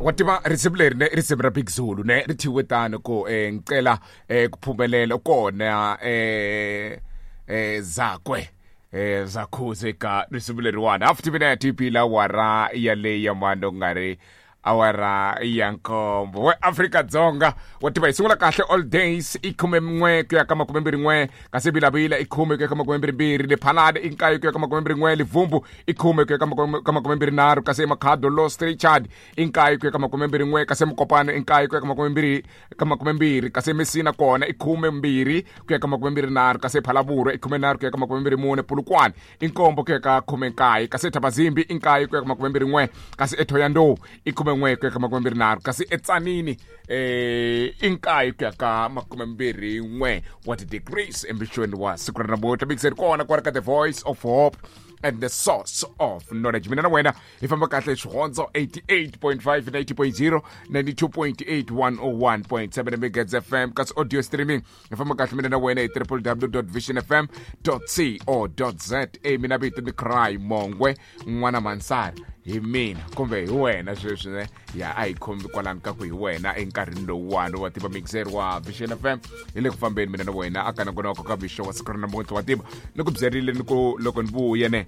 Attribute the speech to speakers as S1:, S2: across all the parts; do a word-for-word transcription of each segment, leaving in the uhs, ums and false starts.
S1: Wa tiva risimu leri ne risimu ra Big Zulu ne ri thyiwe tano ku eh, ngicela eh, ku phumelela kona eh, eh, zakwe eh, zakhuze ka risimu leriwani half timinete yi bile awara yaleyi ya mano ku nga ri awara ya nkombo we Afrika-Dzonga. Wa tiva hi sungula kahle all days i khume n'we ku ya ka makume mbirhi n'we, kasi Vilavila i khume ku ya ka makume mbirhi mbirhi, Lephalale i nkaye ku ya ka makume mbirhi n'we, Livumbu i khume ku ya ka makume ka makume mbirhi nharhu, kasi eMakhado Lost Richard i nkaye ku ya ka makume mbirhi n'we, kasi Mokopane i nkaye ku ya ka makume mbirhi ka makume mbirhi, kasi Messina kona i khume mbirhi ku ya ka makume mbirhi nharhu, kasi Phalaborwa i khume nharhu ku ya ka makume mbirhi mune, Polokwane i nkombo ku ya ka khume nkaye, kasi Thabazimbi i nkaye ku ya ka makume mbirhi n'we, kasi eThohoyandou i khume n'we ku ya ka makume mbirhi nharhu, kasi eTsanini eh i nkaye ku ya ka makume mbirhi n'we wa ti-degrees embixweni wa siku ra namuntlha. Mixer kona kwala ka The Voice of Hope and the Source of Knowledge. Mina na wena hi famba kahle Xihondzo eighty-eight point five, ninety point zero, ninety-two point eight, one oh one point seven Megahertz F M, kasi audio streaming hi famba kahle mina na wena hi w w w dot vision f m dot co dot z a. Mina vito ni Cry Mongwe n'wana Mansari, hi mina kumbe hi wena sweswi ne ya a hi khomi kwalano ka ku hi wena enkarhini lowuwani. Wa tiva mixer wa Vision F M hi le ku fambeni mina na wena aka nongonoko ka mixo wa siku ra namuntlha. Wa tiva ni ku byerile ni ku loko ni vuya ne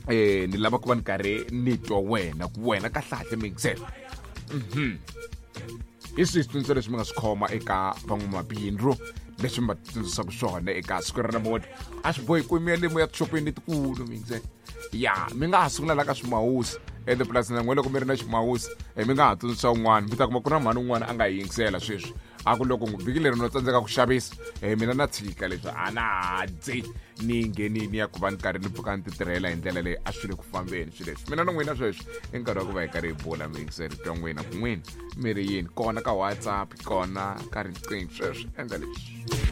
S1: eh ni lava ku va ni karhi ni twa wena ku wena kahlahle mixer mhm hi swihi switsundzuxo leswi mi nga swi khoma eka van'wamabindzu leswi mi va tsundzuxaka swona eka siku ra namuntlha? A swi bohi ku mi ya le mo ya tixopeni letikulu mixer ya mi nga ha sungula la ka swimawusi ende purasini na n'we loko mi ri na ximawusi mi nga ha tsundzuxa un'wana, mi ta kuma ku na mhani un'wana a nga yi yingisela sweswi a ku loko vhiki leri no tsandzeka ku xavisa eh, mina na tshika leswi a na ha dyi ni nghenini ya ku va ni karhi ni pfuka ni ti tirhela hi ndlela leyi a swi le ku fambeni swilo leswi. Mina na n'wina sweswi i nkarhi wa ku va hi karhi hi bula mixer twa n'wina ku n'wina mi ri yini kona ka WhatsApp kona ka riqingho sweswi endla leswi.